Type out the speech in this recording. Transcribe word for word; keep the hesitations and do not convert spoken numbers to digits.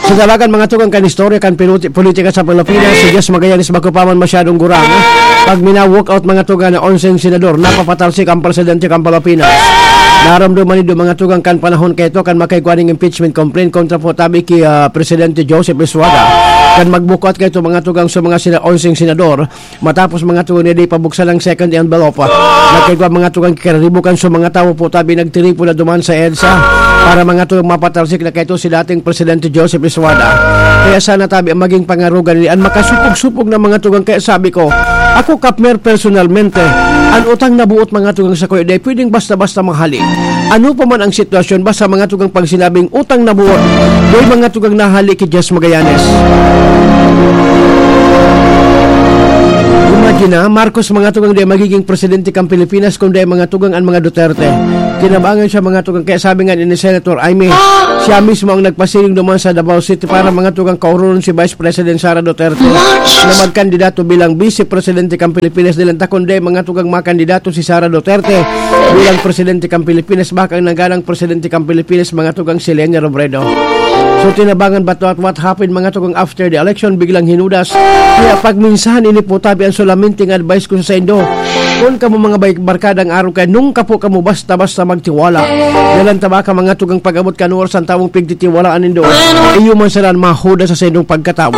Sa dalagan, mga tugang, kan istorya kan pinuti-, politika sa Pilipinas, si Jess Magallanes bako pa man masyadong gurang. Pag mina-walk out, mga tugang, na onseng senador, napapatalsik ang presidente kan Pilipinas. Naramdaman nindo, mga tugang, kan panahon kaito kan makaigwa ning impeachment complaint kontra po tabi ki, ah, Presidente Joseph Estrada. Kan mag-walk out kaito, mga tugang, sa mga sina-, onseng senador, matapos, mga tugang, na di pabuksan ang second envelope, nagkaigwa, mga tugang, kararibukan sa mga tawo po tabi nagtiripon na duman sa EDSA para, mga tugang, mapatalsik na kaito si dating Presidente Joseph Estrada. Kaya sana tabi ang maging pangarugan ni an makasupog-supog na, mga tugang. Kaya sabi ko, ako, Kapmer, personalmente, an utang na buot, mga tugang, sa kuya, di pwedeng basta-basta mahali. Ano pa man ang sitwasyon, basta, mga tugang, pag sinabing utang na buot, di, mga tugang, nahali ki Jess Magallanes. Imagine na, Marcos, mga tugang, di magiging presidente kan Pilipinas, kundi, mga tugang, an mga Duterte. Kinabangan siya, mga tugang. Kaya sabi nga ni Senator Imee, siya mismo ang nagpasiring duman sa Davao City para, mga tugang, kaurunon si Vice President Sara Duterte na magkandidato bilang Vice Presidente kan Pilipinas. Dilan ta kundi, mga tugang, makandidato si Sara Duterte bilang Presidente kan Pilipinas, baka ang nangganang Presidente kan Pilipinas, mga tugang, si Leni Robredo. So, tinabangan ba to, at what happened, mga tugang, after the election, biglang hinudas. Kaya pagminsan, ini po tabi ang solaminting advice ko sa saindo. Kun kamo, mga bay-, barkada, ang araw kaya, nung kapo kamo basta-basta magtiwala. Dalan ta baka, mga tugang, pag-abot kan oras, an tawong pigtitiwalaan nindo, iyo man sana an mahuda sa saindong pagkatawo.